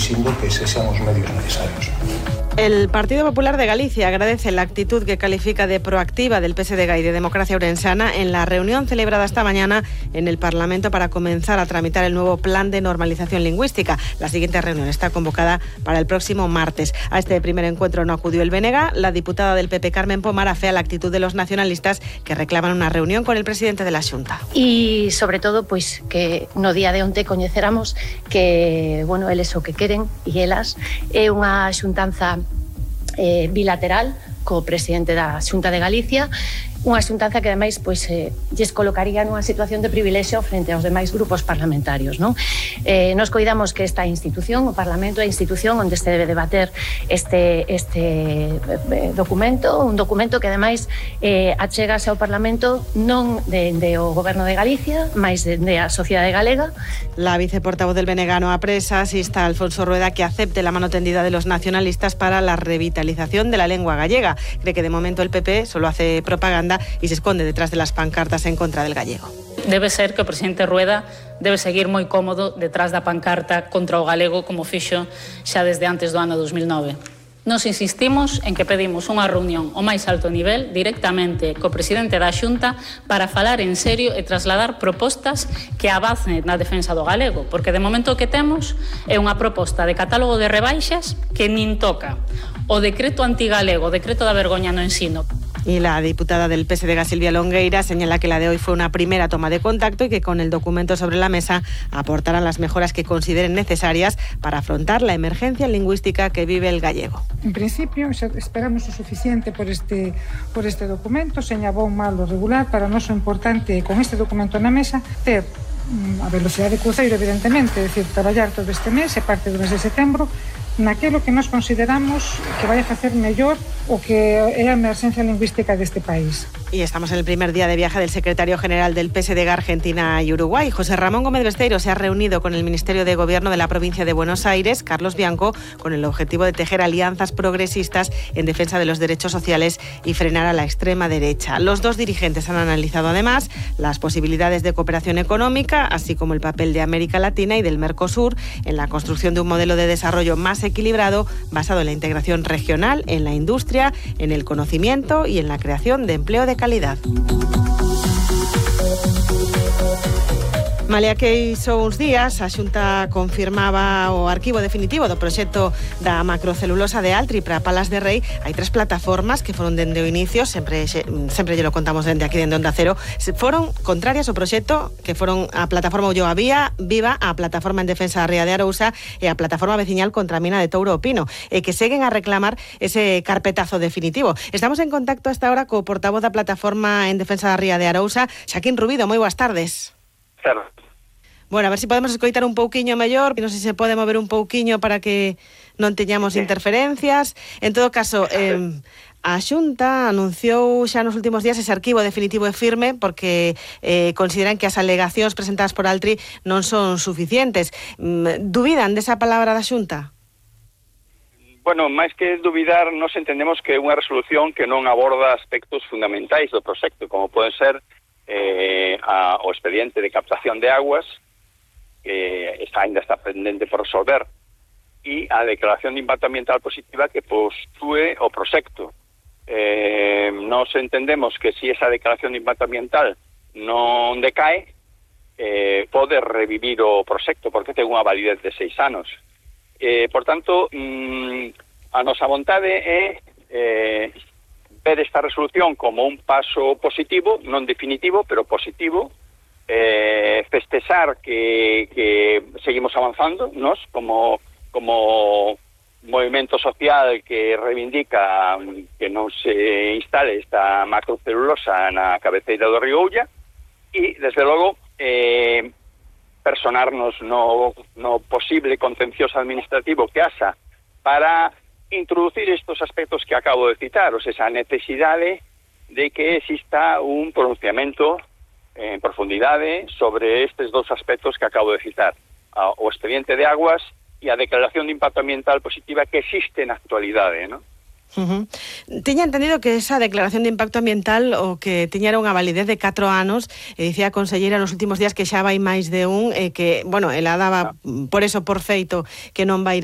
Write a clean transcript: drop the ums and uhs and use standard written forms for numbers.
exixindo que sexan os medios necesarios. El Partido Popular de Galicia agradece la actitud que califica de proactiva del PSDG y de Democracia Ourensana en la reunión celebrada esta mañana en el Parlamento para comenzar a tramitar el nuevo plan de normalización lingüística. La siguiente reunión está convocada para el próximo martes. A este primer encuentro no acudió el BNG. La diputada del PP, Carmen Pomar, afea la actitud de los nacionalistas que reclaman una reunión con el presidente de la Xunta. E, sobre todo, pois que no día de onte coñeceramos que, bueno, eles o que queren e elas é unha xuntanza bilateral co presidente da Xunta de Galicia, unha xuntanza que ademais pois lles colocaría nunha situación de privilexio frente aos demais grupos parlamentarios, non? Nos coidamos que esta institución, o Parlamento, é a institución onde se debe debater este documento, un documento que ademais achegase ao Parlamento non de o Goberno de Galicia, mais de a sociedade galega. La viceportavoz del BNG no Presas insta a Alfonso Rueda que acepte la mano tendida de los nacionalistas para la revitalización de la lengua gallega. Cree que de momento el PP solo hace propaganda y se esconde detrás de las pancartas en contra del gallego. Debe ser que o presidente Rueda debe seguir moi cómodo detrás da pancarta contra o galego como fixo xa desde antes do ano 2009. Nos insistimos en que pedimos unha reunión ao máis alto nivel directamente co presidente da Xunta para falar en serio e trasladar propostas que avancen na defensa do galego, porque de momento o que temos é unha proposta de catálogo de rebaixas que nin toca o decreto antigalego, o decreto da vergoña no ensino. Y la diputada del PSDG, Silvia Longueira, señala que la de hoy fue una primera toma de contacto y que con el documento sobre la mesa aportarán las mejoras que consideren necesarias para afrontar la emergencia lingüística que vive el gallego. En principio, esperamos o suficiente por este documento, señalou mal o regular. Para nós o importante con este documento na mesa ter a velocidade de cruceiro, evidentemente, é dicir, traballar todo este mes e parte do mes de setembro naquilo que nós consideramos que vai a facer mellor o que é a emerxencia lingüística deste país. Y estamos en el primer día de viaje del secretario general del PSDG Argentina y Uruguay. José Ramón Gómez Besteiro se ha reunido con el Ministerio de Gobierno de la provincia de Buenos Aires, Carlos Bianco, con el objetivo de tejer alianzas progresistas en defensa de los derechos sociales y frenar a la extrema derecha. Los dos dirigentes han analizado además las posibilidades de cooperación económica, así como el papel de América Latina y del Mercosur en la construcción de un modelo de desarrollo más equilibrado basado en la integración regional, en la industria, en el conocimiento y en la creación de empleo de calidad. Malia que hizo uns días, a Xunta confirmaba o arquivo definitivo do proxecto da macrocelulosa de Altri para Palas de Rei. Hai 3 plataformas que foron dende o inicio, sempre lle lo contamos dende aquí, dende Onda Cero, foron contrarias ao proxecto, que foron a plataforma Ulloa Viva, a plataforma en defensa da Ría de Arousa e a plataforma veciñal contra a mina de Touro o Pino, e que seguen a reclamar ese carpetazo definitivo. Estamos en contacto hasta ahora co portavoz da plataforma en defensa da Ría de Arousa, Xaquín Rubido. Moi boas tardes. Bueno, a ver se podemos escoitar un pouquiño mellor, non sei se pode mover un pouquiño para que non teñamos interferencias. En todo caso, a Xunta anunciou xa nos últimos días ese arquivo definitivo e firme porque consideran que as alegacións presentadas por Altri non son suficientes. Dubidan desa palabra da Xunta? Bueno, máis que dubidar, nos entendemos que é unha resolución que non aborda aspectos fundamentais do proxecto, como poden ser o expediente de captación de aguas, que ainda está pendente por resolver, e a declaración de impacto ambiental positiva que postúe o proxecto. Nos entendemos que se esa declaración de impacto ambiental non decae, pode revivir o proxecto, porque ten unha validez de 6 anos. Por tanto, a nosa vontade é ver esta resolución como un paso positivo, non definitivo, pero positivo, festexar que seguimos avanzando, nos, como movimento social que reivindica que non se instale esta macrocelulosa na cabeceira do río Ulla, e, desde logo, personarnos no posible contencioso administrativo que haxa para introducir estos aspectos que acabo de citar, o sea, esa necesidade de que exista un pronunciamento en profundidade sobre estes dos aspectos que acabo de citar, o expediente de aguas e a declaración de impacto ambiental positiva que existe na actualidade, ¿no? Tiña entendido que esa declaración de impacto ambiental o que tiñera unha validez de 4 anos, dicía a conselleira nos últimos días que xa vai máis de un, que, bueno, ela daba por eso por feito que non vai ir